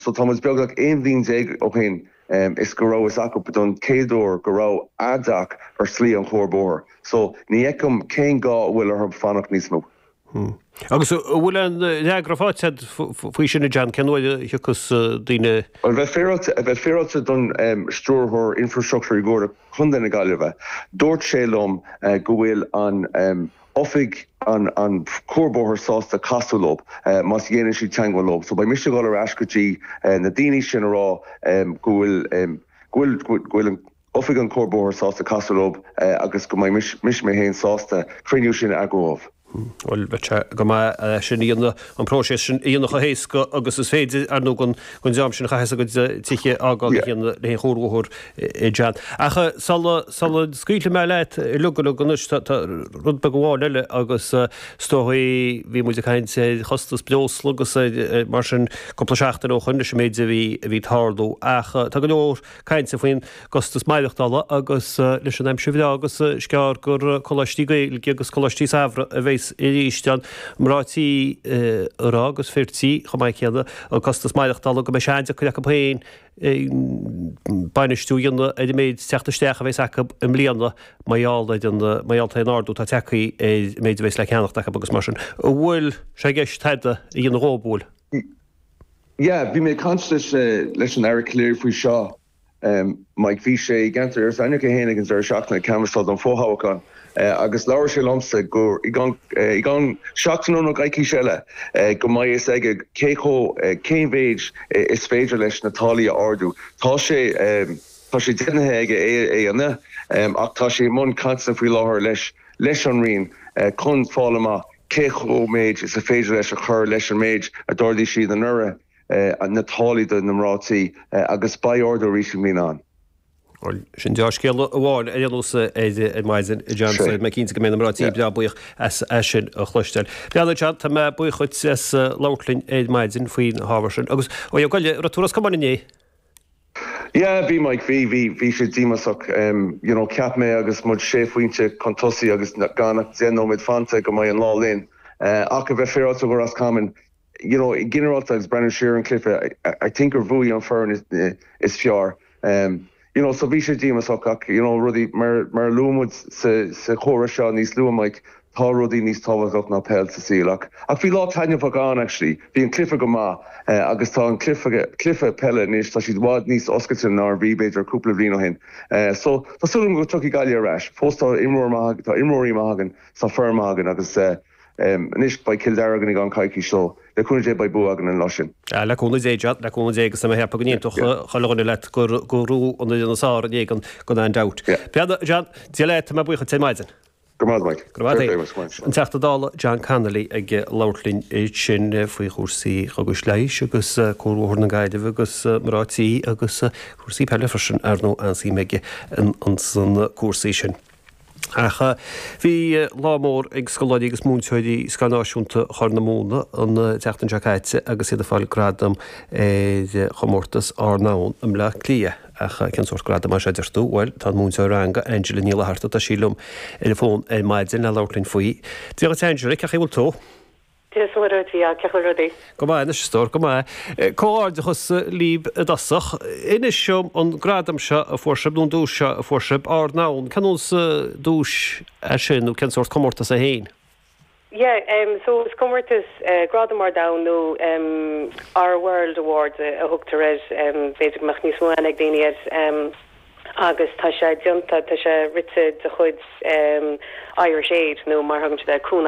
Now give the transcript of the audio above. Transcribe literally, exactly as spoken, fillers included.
So tá muid beagnach aon bhliain déag ó shin um, is go raibh acu don chéad uair go raibh a dteach ar slí an chuarbhóthair. So ní fheicim cén gá a bhfuil orthu fanacht níos mó. Hmm. Agus bhfuil an fhreagra faighte faoi sin John cén uair a thiocfas daoine Well bheith bheith féaráilte don um, stiúrthóir infrastructure i gComhairle Chontae na Gaillimhe. Dúirt sé liom uh, go bhfuil an um, oifig an an cuarbhóthar sásta casadh leo uh, más dhéanann siad teagmháil leo. So beidh mise ag dul ar ais go dtí uh, na daoine sin a rá um, go bhfuil um, go bhfuil an oifig an cuarbhóthar sásta casadh leo uh, agus go mbeidh mise mé féin sásta cruinniú sin a eagrú. Well go maith sin íonna an próiseas sin íonna héasca agus is féidir ar nó gon gon jam sin chaise go tiche ágáil le chuirthir i John. Ach sula scaoilfidh mé leat lu go anois rud beag amháin eile agus stoí bhí muid ag caint chostas breosla agus mar sin cúpla seachtain ó shin leis an méid a bhí a bhí ag tarlú ach tá go leor cainte faoin gcostas maireachtála agus leis an aimsir bhreá agus is gearr gur coláistí Gaeilge agus coláistí samhraidh a bheas arís an mná tí rá agus fir tí chomh maith céanna an costas maireachtála go mbeidh sé an-deacair acu féin bainistiú dhéanamh ar an méid teacht isteach a bheas acu i mbliana mar gheall ar an mar gheall ar an ardú atá tagtha ar méid a bheas le ceannacht acu agus mar sin. An bhfuil sé i gceist tada a dhéanamh dhóibh? Yeah, bhí mé ag caint leis leis an Aire Calleary faoi seo um, Mike bhí sé i gceantar Iorras Aithneach é féin ag an deireadh seachtaine ag canbhasáil don fhothoghchán. Uh, agus labhair sé liomsa gur i gceann seachtain nó coicís eile uh, go mbeidh fhios aige cé chomh uh, cén mhéid is féidir leis na táillí a ardú. Tá sé um, tá sé deimhnithe aige é é anna um, ach tá sé i mbun cainte faoi láthair leis leis an Roinn uh, chun fáil amach cé chomh méid is a féidir leis a chur leis an méid a d'ardaigh siad anuraidh uh, na táillí do na mná tí uh, agus beidh ardú arís i mbliana ann. Sin dea-scéal amháin ar nós ar maidin John mé cinnte go mbeidh na mná tí breá buíoch as as sin a chloisteáil. Beanna John tá mé buíoch duit as labhairt linn ar maidin faoin ábhar sin. Agus ó goile ra turas come inné? Yeah, bhí Mike bhí bhí bhí sé díomásach um, you know, cheap mé agus muid sé phointe chun tosaigh agus gan ach deich nóiméad fanta go mbeidh an lá linn. Uh, ach a bheith féaráilte go Ros Comáin, you know, ginearálta agus breathnú siar an cluiche, I, I think gur bhuaigh an foireann is, is fearr. Um, you know, so bhí sé díomásach ach you know, rudaí mar mar luaigh muid sa sa chomhrá seo níos luaithe Mike tá rudaí níos tábhachtaí ná peil sa saol ach ach bhí lá taitneamhach ann actually bhí an cluiche go maith uh, agus tá an cluiche cluiche peile anois tá siad i bhfad níos oscailte ná bhí b'fhéidir cúpla bliain ó shin. Uh, so tá súil agam go dtiocfaidh Gaillimh ar ais fós tá imreoir maith tá imreoirí maith againn sa foireann maith againn agus uh, um, anois beidh Cill Dara againn i gceann coicíse so le cúnamh Dé beidh bua againn an lá sin. Le cúnamh Dé le cúnamh Dé agus mé ag ceapadh go n-aontódh chuile dhuine leat gur gur raibh an fhoireann is fearr inné gan gan aon dabht. Beanna John Dia leat mé buíoch duit maidin. Go maith Mike. Go maith An Teachta Dála John Connolly ag labhairt linn sin faoi chúrsaí chugais leighis agus cuarbhóthar na Gaillimhe agus mná tí agus cúrsaí peile freisin ar ndóigh an-suim aige an san cúrsaí sin. Ach bhí lá mór ag scoláirí agus múinteoirí Scoil Náisiúnta Chorr na Móna an tseachtain seo caite agus iad ag fáil gradam ar chomórtas Ár nDomhan i mBleá Cliath ach cén sórt gradam é seo deir tú bhuel tá múinteoir ranga Angela Ní Fhlatharta tá sí liom ar an bhfón ar maidin le labhairt linn faoi. Dia duit Angela cén chaoi a bhfuil tú? Dia is cén chaoi rudaí. Go maith anois a stór go maith. Comhghairdeachas libh i dtosach. Inis dom an gradam seo a fuair sibh nó an duais seo a fuair sibh Ár nDomhan, cén duais é sin nó cén sórt comórtas é féin. Yeah, um, so is comórtas uh, Gradam Ár nDomhan nó um, Our World Awards uh, a thugtar air um, b'fhéidir go mbeadh níos mó ag daoine air um, agus tá sé déanta tá sé rite de chuid um, Irish Aid nó mar thugann siad cúnamh